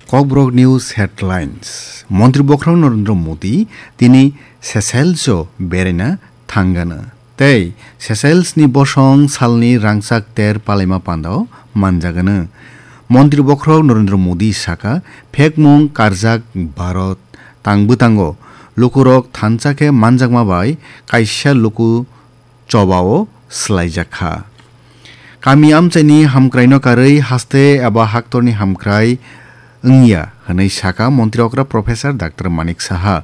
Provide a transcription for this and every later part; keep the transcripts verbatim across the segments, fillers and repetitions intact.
Kokborok News Headlines. Montri Bokhorok Narendra Modi tini Seychelles o beraina thangano. Tei Seychelles ni bosong salni rangchak ter palaima pandao manjagano. Montri Bokhorok Narendra Modi saka, phekmung karjak Bharat tang bwtango lukurok thansa khe manjakma bai kaisa luku chobao swlaijak kha. Kami amchaini hamkraino karwi haste eba haktorni hamkrai wngya hwnwi sakha Montri okra Professor Doctor Manik Saha.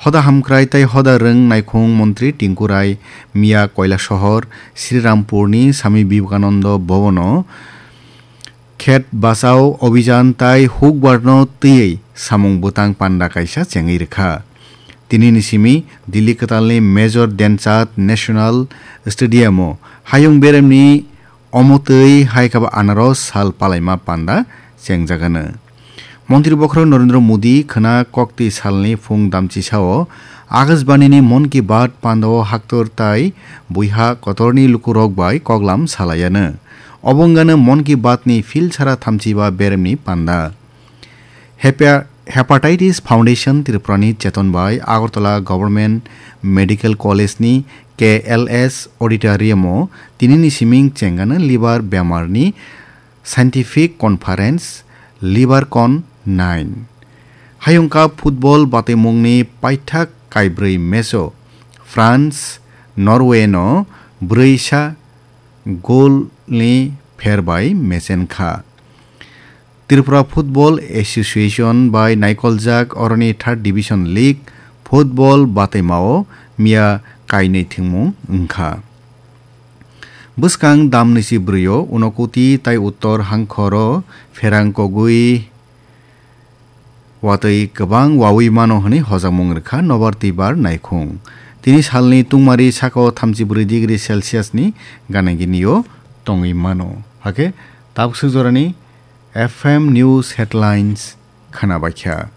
Hoda hamkrai tei hoda rwng naikhung Montri Tinku Rai miya Kailasahar Srirampurni Swami Vivekananda Bhavono Khet Bachao Abhijan tai hukbarno twiwi samung bwtang panda kaisa chengwi rwkha. Tinini simi Delhi kwtalni Major Dhyanchand National Stadium-o hayung beremni omo twi hai khe bo anaros sal palaima panda chengjagano. Montri Bokhorok Narendra Modi khwna kokti salni phung damchisao Akashbanini Mon Ki Baat pandao haktor tai buiha kotorni lukurok bai koklam salaiano. Obo wngano Mon Ki Baat ni phil sara thamchiba beremni panda. Hepa-, Hepatitis Foundation Tripurani cheton bai Agartala Government Medical College ni K L S Auditorium o tinini siming chengano liver bemar ni Scientific Conference, LiverCon nine. Hayung Cup football batimungni paithak kaibrwi match-o France, Norway-no brwi sa goal-ni pher bai mechen kha. Tripura Football Association bai naikoljak oroni Third Division League football bataimao miya kainwi thwngmung wngkha. Bwskang damnisi bwrwi-o Unakoti tai Uttor Hangkhoro pherang kogwi watwi kwbang wawi mano hwnwi hojakmung rwkha nobar twibar naikhung. Tini salni tungmari saka-o thamchi bwrwi degree Celsius ni gana gini-o tongwi mano. Hakhe tabuk swk jorani F M News Headlines khwnabaikha.